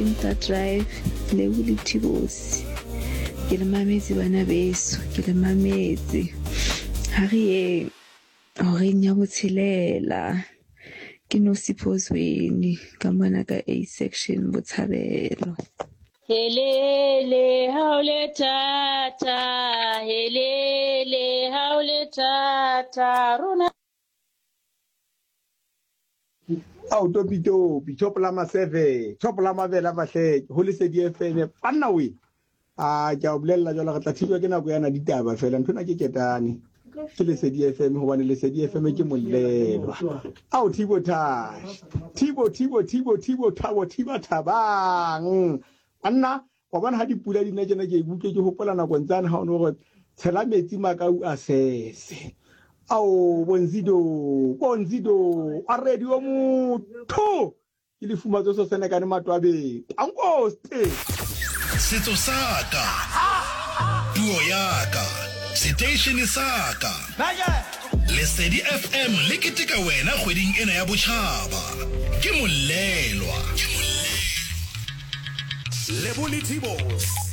Kinta Drive, Lebo le Thibosi. Ke le mametse bana beso, ke le mametse. Ha re yeng horeng ya botshelela. Ke Nosipho Zweni ka mona ka A section Botshabelo. Helele ha o le thata, helele ha o le thata, rona. Ao topi topi, top la maseve, top la mabele a mahleke, ho Lesedi FM, banna we. A ke a o bolella jwale re tla thijwa ke nako yana ditaba fela ntho ena ke ketane. Ke Lesedi FM hobane Lesedi FM ke molelwa. Ao Thibo Tash. Thibo Thibo Thibo Thibo Thabo Thiba Thabang. Banna Wa bona ha dipula di na tjena ke ikutlwe ke hopola nakong tsane ha o no re tshela metsi makau a sese. Ao bonzido bonzido a radio motho ke lefumatso so senekane matwabeng. Tankoste. Setso sa ka, puo ya ka, seteishene sa ka. Lesedi FM le keteka wena kgweding ena ya botšhaba. Ke molelwa. Lebo le Tibos.